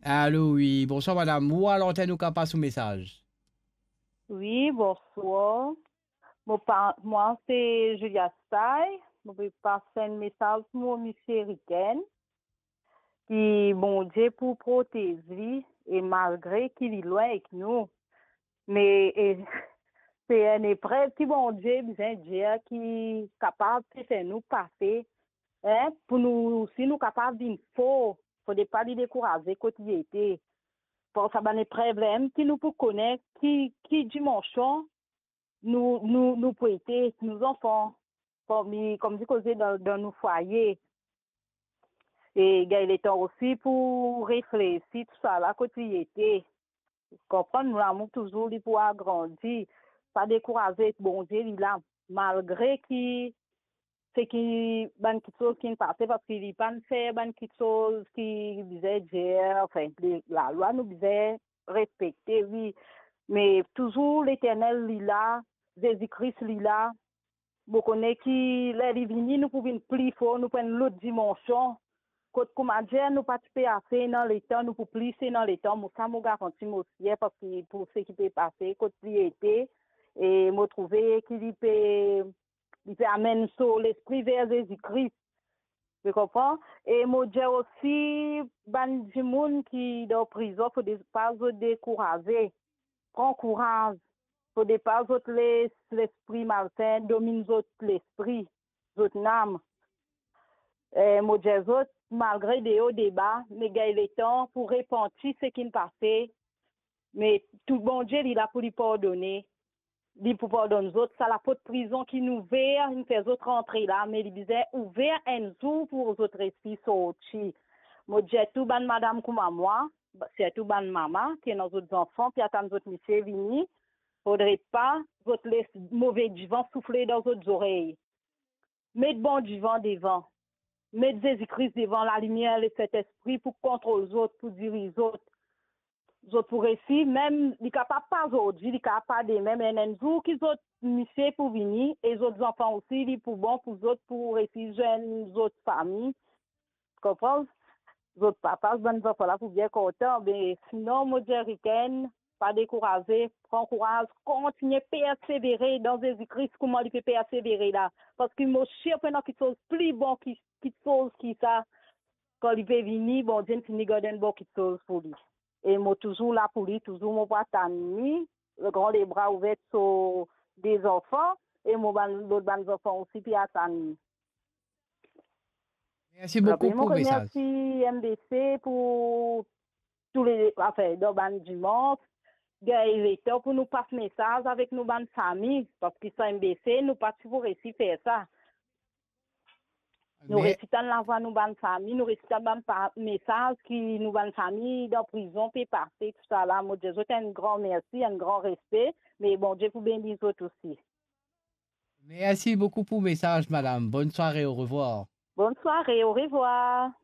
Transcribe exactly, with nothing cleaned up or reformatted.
Alo, wi, bonswar madam. Ou a lantenn, ou kapav pas ou mesaz. Wi, bonswar. Mo pa, mwa se Julia Stay. Mo pe pas enn mesaz pou mo misie Riken, ki Bondie pou protez li, e malgre ki li lwin ek nou, me, e, se enn eprev ki Bondie bizin dir ki kapav pe fer nou pase, en, pou nou, si nou kapav vinn for, fode pa li dekouraze kot li ete. Par sa bann eprev la, ki nou pou kone ki, ki dimansion nou, nou, nou pou ete, nou zanfan, kouma, kouma dir koze dan, dan nou fwaye. E gagn letan osi pou reflesi tousala kot li ete. Konprann, nou lamour touzour li pou agrandi. Pa dekouraze, Bondie li la, malgre ki seki bann kiksoz ki'nn pase, parski li pa'nn fer bann kiksoz ki bizin dir, anfin, le, lalwa nou bizin respekte, wi. Me touzour Leternel li la, Zezi Kris li la. Mo kone ki ler li vini, nou pou vinn pli for, nou pou enn lot dimansion. Kot kouma dir, nou pa ti pe ase ena letan, nou pou plis ena letan. Mo sa mo garanti mo sir, parski pou seki pe pase, kot li ete, e mo trouve ki li pe, li pe amenn so lespri ver Zezi Kris. Ou konpran? E mo dir osi bann dimoun ki dan prizon, fode pa zot dekouraze. Pran kouraz. Fode pa zot les lespri malsin dominn zot lespri, zot nam. E mo dir zot, malgre deor deba, me gagn letan pou repanti seki'nn pase, me tou Bondie li la pou li pardone. Li pou pardonn zot. Sa laport prizon ki'nn ouver, inn fer zot rantre la, me li bizin ouver enn zour pou zot resi sorti. Mo dir tou bann madam kouma mwa, sirtou bann mama ki ena zot zanfan, ki atann zot misie vini, fodre pa zot les move divan soufle dan zot zorey. Met bon divan devan. Met Zezi Kris devan, lalimier Lesentespri pou kontrol zot, pou diriz zot. Zot pou resi, mem li kapav pa zordi, li kapav pa demin, me enn zour ki zot misie pou vini, e zot zanfan osi, li pou bon pou zot, pou resi zwenn zot fami. Konpran? Zot papa, bann zanfan la pou bien kontan. Be sinon, mo dir Riken, pa dekouraze, pran kouraz, kontigne persevere dan Zezi Kris, kouma li pe persevere la. Parski mo sir pou ena kiksoz pli bon ki, kiksoz ki sa. Kan li pe vini, Bondie inn fini gard enn bon kiksoz pou li. E mo touzour la pou li, touzour mo pou atann li, gran lebra ouver so de zanfan, e mo bann, lot bann zanfan osi pe atann li. Mersi boukou pou mesaz. Mo remersi M B C pou tou le, anfin, dan bann dimans, gagn letan pou nou pas mesaz avek nou bann fami, parski san M B C, nou pa ti pou resi fer sa. Nou resi tann lavwa nou bann fami, nou resi tann bann pa-, mesaz ki nou bann fami dan prizon pe pase, tousala. Mo dir zot enn gran mersi, enn gran respe, me Bondie pou beni zot osi. Mersi boukou pou mesaz, madam. Bonn sware, orevwar. Bonn sware, orevwar.